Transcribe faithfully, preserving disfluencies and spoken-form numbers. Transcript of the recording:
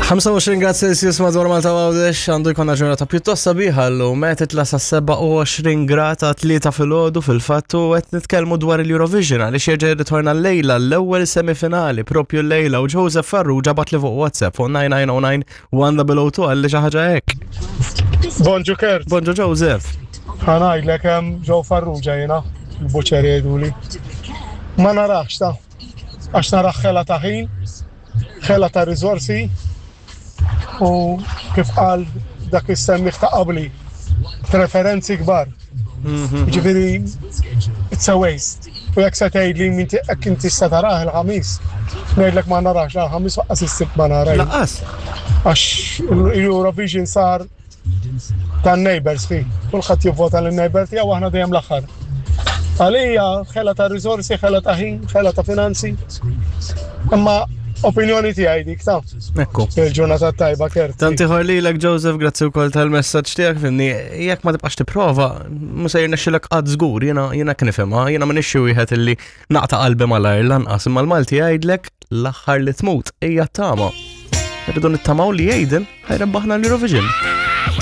ħamsa u għoxrin grad Celsius madwar Malta u Għawdex. Għandu jkollna ġurnata pjuttost sabiħa llum, qed titla' sa sebgħa u għoxrin grad ta' tlieta filgħodu fil-fatt, u qed nitkellmu dwar il-Eurovision għaliex jerġa' jirritorna llejla, l-ewwel semifinali propju llejla, u Joseph Farrugia bagħatli fuq WhatsApp fuq tnejn tnejn żero tnejn żero żero tnejn għalli xi ħaġa hekk. Bonġu, Kurt. Bonġu, Joseph. Ħa ngħidlek, hemm Joe Farrugia jiena, il-buċer jgħiduli. Ma narax ta' għax narax ħela ta' ħin, ħela ta' riżorsi u kif qal dak is-semmiegħ ta' qabli, preferenzi kbar. Ġifieri, it's a waste. U jekk se tgħidli minti jekk inti se tarah il-Ħamis, ngħidlek ma narax la l-Ħamis waqqas is-Sibt ma nara. Lanqas. Għax il-Eurovision sar tan-neighbors fi. Kulħadd jivvota lin-neighbor tiegħu, aħna dejjem l-aħħar. Għalija ħela ta' riżorsi, ħela ta' ħin, ħela ta' finanzi. Imma opinjoni tiegħi dik ta'. Ekku. Il-ġurnata tajba, Kurt. Tant ieħor lilek, Joseph, grazzi wkoll tal-messaġġ tiegħek, fimni, jekk ma tibqax tipprova, mhu se jirnexxilek qatt żgur, jiena jiena kif nifhimha, jiena m'iniex xi wieħed illi naqta' qalbi malajr lanqas, imma l-Malti jgħidlek l-aħħar li tmut hija tama. Irridu nittamaw li Aiden ħa jrebbaħna l-Eurovision.